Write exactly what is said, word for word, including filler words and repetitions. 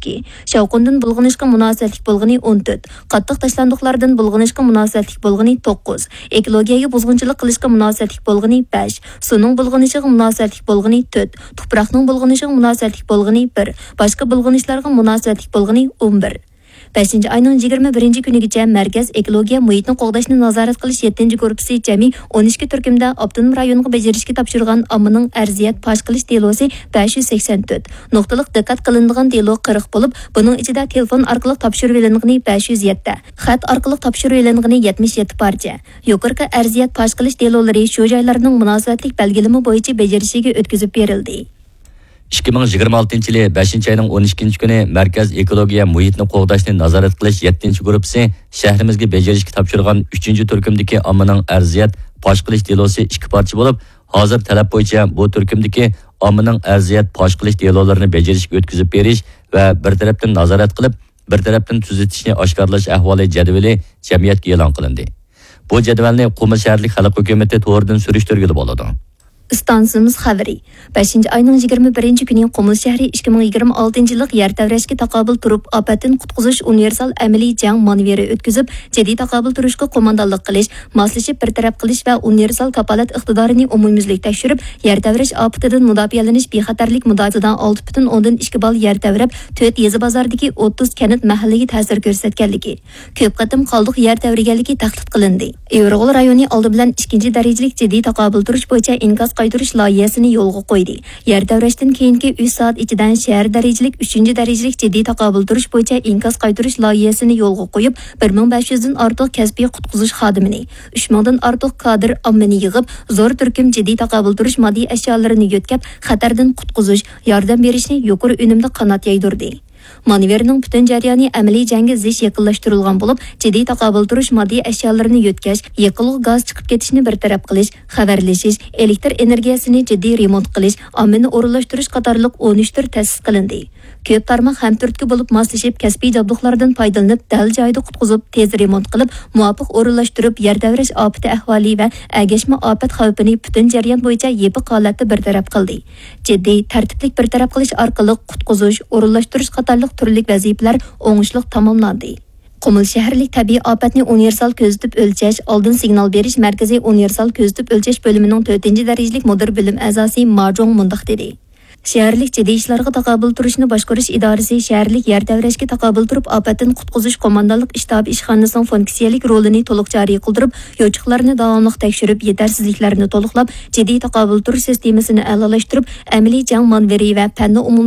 ئىككى، شاۋقۇندىن بۇلغىنىشقا مۇناسىۋەتلىك بولغىنى ئون تۆت، قاتتىق تاشلاندۇقلاردىن بۇلغىنىشقا مۇناسىۋەتلىك بولغىنى توققۇز، ئېكولوگىيەگە بۇزغۇنچىلىق قىلىشقا مۇناسىۋەتلىك بولغىنى بەش، سۇنىڭ بۇلغىنىشىغا مۇناسىۋەتلىك بولغىنى تۆت، تۇپراقنىڭ بۇلغىنىشىغا مۇناسىۋەتلىك بولغىنى بىر، باشقا بۇلغىنىشلارغا مۇناسىۋەتلىك بولغىنى ئون بىر. بەشىنچى ئاينىڭ يىگىرمە بىرىنچى كۈنىگىچە مەركەز ئېكولوگىيە مۇھىتنى قوغداشنى نازارەت قىلىش يەتتىنچى گۇرۇپپىسى جەمئىي ئون ئىككى تۈركۈمدە ئاپتونوم رايونغا بېجىرىشكە تاپشۇرغان ئاممىنىڭ ئەرزىيەت پاش قىلىش دېلوسى بەش يۈز سەكسەن تۆت، نۇقتىلىق دىققەت قىلىنىدىغان دېلو قىرىق بولۇپ، بۇنىڭ ئىچىدە تېلېفون ئارقىلىق تاپشۇرۇۋېلىنغىنى بەش يۈز يەتتە، خەت ئارقىلىق تاپشۇرۇۋېلىنغىنى يەتمىش يەتتە پارچە. يۇقىرىقى ئەرزىيەت پاش قىلىش دېلولىرى شۇ جايلارنىڭ مۇناسىۋەتلىك بەلگىلىمە بويىچە بېجىرىشىگە ئۆتكۈزۈپ بېرىلدى. ئىككى مىڭ يىگىرمە ئالتىنچى يىلى بەشىنچى ئاينىڭ ئون ئىككىنچى كۈنى مەركەز ئېكولوگىيە مۇھىتنى قوغداشنى نازارەت قىلىش يەتتىنچى گۇرۇپپىسى شەھىرىمىزگە بېجىرىشكە تاپشۇرغان ئۈچىنچى تۈركۈمدىكى ئاممىنىڭ ئەرزىيەت پاش قىلىش دېلوسى ئىككى پارچە بولۇپ، ھازىر تەلەپ بويىچە بۇ تۈركۈمدىكى ئاممىنىڭ ئەرزىيەت پاش قىلىش دېلولىرىنى بېجىرىشكە ئۆتكۈزۈپ بېرىش ۋە بىر تەرەپتىن نازارەت قىلىپ، بىر تەرەپتىن تۈزىتىشنى ئاشكارىلاش ئەھۋالى جەدۋىلى جەمئىيەتكە ئېلان قىلىندى. بۇ جەدۋەلنى قۇمۇل شەھەرلىك خەلق ھۆكۈمىتى تورىدىن سۈرۈشتۈرگىلى بولىدۇ. ئىستانسىمىز خەۋىرى. بەشىنچى ئاينىڭ يىگىرمە بىرىنچى كۈنى قۇمۇل شەھىرى ئىككى مىڭ يىگىرمە ئالتىنچى يىللىق يەر تەۋرەشكە تاقابىل تۇرۇپ، ئاپەتتىن قۇتقۇزۇش ئۇنىۋېرسال ئەمەلىي جەڭ مانېۋىرى ئۆتكۈزۈپ، جىددىي تاقابىل تۇرۇشقا قوماندانلىق قىلىش، ماسلىشىپ بىر تەرەپ قىلىش ۋە ئۇنىۋېرسال كاپالەت ئىقتىدارىنى ئومۇميۈزلۈك تەكشۈرۈپ، يەر تەۋرەش ئاپىتىدىن مۇداپىئەلىنىش بىخەتەرلىك مۇداپىئىسىدا ئالتە پۈتۈن ئوندىن ئىككى بال يەر تەۋرەپ، تۆت يېزا بازاردىكى ئوتتۇز كەنت مەھەللىگە تەسىر كۆرسەتكەنلىكى، كۆپ قېتىم قالدۇق يەر تەۋرىگەنلىكى تەھدىت قىلىندى. ئېغىرغول رايونى ئالدى بىلەن ئىككىنچى دەرىجىلىك جىددىي تاقابىل تۇرۇش بويىچە ئىنكاس قايتۇرۇش لايىھەسىنى يولغا قويدى. يەر تەۋرەشتىن كېيىنكى ئۈچ سائەت ئىچىدە شەھەر دەرىجىلىك ئۈچىنچى دەرىجىلىك جىددىي تاقابىل تۇرۇش بويىچە ئىنكاس قايتۇرۇش لايىھەسىنى يولغا قويۇپ، بىر مىڭ بەش يۈزدىن ئارتۇق كەسپىي قۇتقۇزۇش خادىمىنى، ئۈچ مىڭدىن ئارتۇق كادىر ئاممىنى يىغىپ، زور تۈركۈم جىددىي تاقابىل تۇرۇش ماددىي ئەشيالىرىنى يۆتكەپ، خەتەردىن قۇتقۇزۇش، ياردەم بېرىشنى يۇقىرى ئۈنۈمدە قانات يايدۇردى. مانېۋىرنىڭ پۈتۈن جەريانى ئەمەلىي جەڭگە زىچ يېقىنلاشتۇرۇلغان بولۇپ، جىددىي تاقابىل تۇرۇش ماددىي ئەشيالىرىنى يۆتكەش، يېقىلغۇ گاز چىقىپ كېتىشنى بىر تەرەپ قىلىش، خەۋەرلىشىش، ئېلېكتر ئېنېرگىيەسىنى جىددىي رېمونت قىلىش، ئاممىنى ئورۇنلاشتۇرۇش قاتارلىق ئون ئۈچ تۈر تەسىس قىلىندى. كۆپ تارماق ھەمتۈرتكە بولۇپ ماسلىشىپ، كەسپىي جابدۇقلاردىن پايدىلىنىپ، دەل جايىدا قۇتقۇزۇپ، تېز رېمونت قىلىپ، مۇۋاپىق ئورۇنلاشتۇرۇپ، يەر تەۋرەش ئاپىتى ئەھۋالى ۋە ئەگەشمە ئاپەت خەۋپىنى پۈتۈن جەريان بويىچە يېپىق ھالەتتە بىر تەرەپ قىلدى. جىددىي، تەرتىپلىك بىر تەرەپ قىلىش ئارقىلىق قۇتقۇزۇش، ئورۇنلاشتۇرۇش قاتارلىق تۈرلۈك ۋەزىپىلەر ئوڭۇشلۇق تاماملاندى. قۇمۇل شەھەرلىك تەبىئىي ئاپەتنى ئۇنىۋېرسال كۆزىتىپ ئۆلچەش، ئالدىن سىگنال بېرىش مەركىزى ئۇنىۋېرسال كۆزىتىپ ئۆلچەش بۆلۈمىنىڭ تۆتىنچى دەرىجىلىك مۇدىر بۆلۈم ئەزاسى ما جوڭ مۇنداق دېدى: شەھەرلىك جىددىي ئىشلارغا تاقابىل تۇرۇشنى باشقۇرۇش ئىدارىسى شەھەرلىك يەر تەۋرەشكە تاقابىل تۇرۇپ ئاپەتتىن قۇتقۇزۇش قوماندانلىق ئىشتابى ئىشخانىسىنىڭ فۇنكسىيەلىك رولىنى تولۇق جارى قىلدۇرۇپ، يوچۇقلارنى داۋاملىق تەكشۈرۈپ، يېتەرسىزلىكلەرنى تولۇقلاپ، جىددىي تاقابىل تۇرۇش سىستېمىسىنى ئەلالاشتۇرۇپ، ئەمەلىي جەڭ مانېۋىرى ۋە پەننى ئومۇم